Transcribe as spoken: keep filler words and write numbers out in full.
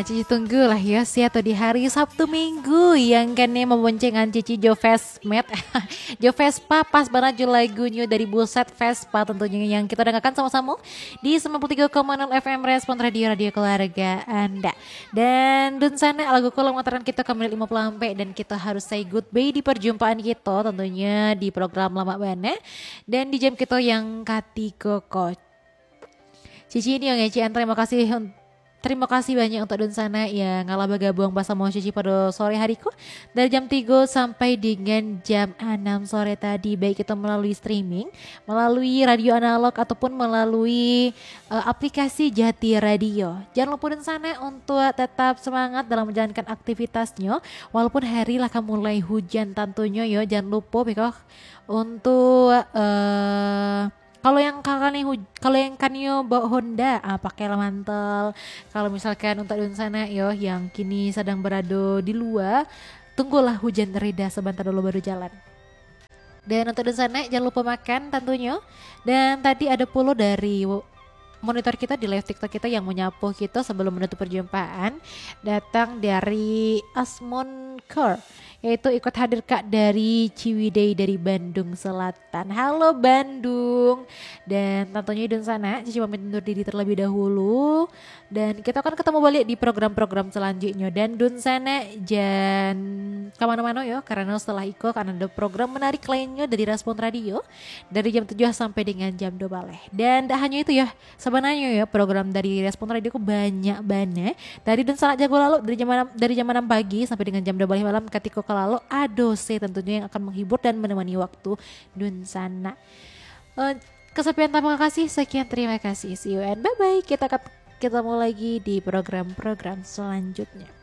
Cici tunggu lah yo, sia tu di hari Sabtu Minggu yang kene mamboncengan Cici jo Vespa. Jo Vespa pas banget jo lagunyo dari Buset Vespa tentunya yang kita dengarkan sama-sama di sembilan puluh tiga koma nol F M Respon Radio, radio keluarga Anda. Dan dunsanak, lagu ko lah mangatakan kita ka menit lima puluh ampek dan kita harus say goodbye di perjumpaan kita tentunya di program Lamak Bana dan di jam kita yang katigo ko. Cici ni yang ngecekan, terima kasih un- Terima kasih banyak untuk dunsanak yang lah bagabuang basamo Cici pada sore hari ko. Dari jam tigo sampai dengan jam anam sore tadi, baik itu melalui streaming, melalui radio analog, ataupun melalui uh, aplikasi Jati Radio. Jangan lupa dunsanak untuk tetap semangat dalam menjalankan aktivitasnyo, walaupun hari lah ka mulai hujan tentunya yo. Jangan lupa beko untuk uh, kalau yang kalian huj- kalau yang kanio bawa Honda, ah, pakailah mantel. Kalau misalkan untuk dunsanak yo yang kini sedang berada di luar, tunggulah hujan reda sebentar dulu baru jalan. Dan untuk dunsanak, jangan lupa makan tentunya. Dan tadi ada pulo dari monitor kita di live TikTok kita yang menyapu kita sebelum menutup perjumpaan, datang dari Asmon Car, yaitu ikut hadir Kak dari Ciwidey dari Bandung Selatan. Halo Bandung. Dan tentunya dunsanak, Cici pamit undur diri terlebih dahulu. Dan kita akan ketemu balik di program-program selanjutnya. Dan dunsanak, jan kemana-mana yo, karena setelah iko akan ada program menarik lainnya dari Respon Radio dari jam tujuh sampai dengan jam dua baleh. Dan tak hanya itu yo, sebenarnya yo, program dari Respon Radio ko banyak banget. Dari dunsanak jago lalok dari jam enam, dari jam enam pagi sampai dengan jam dua baleh malam, katiko ka lalok ado se tentunya yang akan menghibur dan menemani waktu dunsanak. Eh, kesepian, terima kasih. Sekian, terima kasih. See you and bye-bye. Kita ket- ketemu lagi di program-program selanjutnya.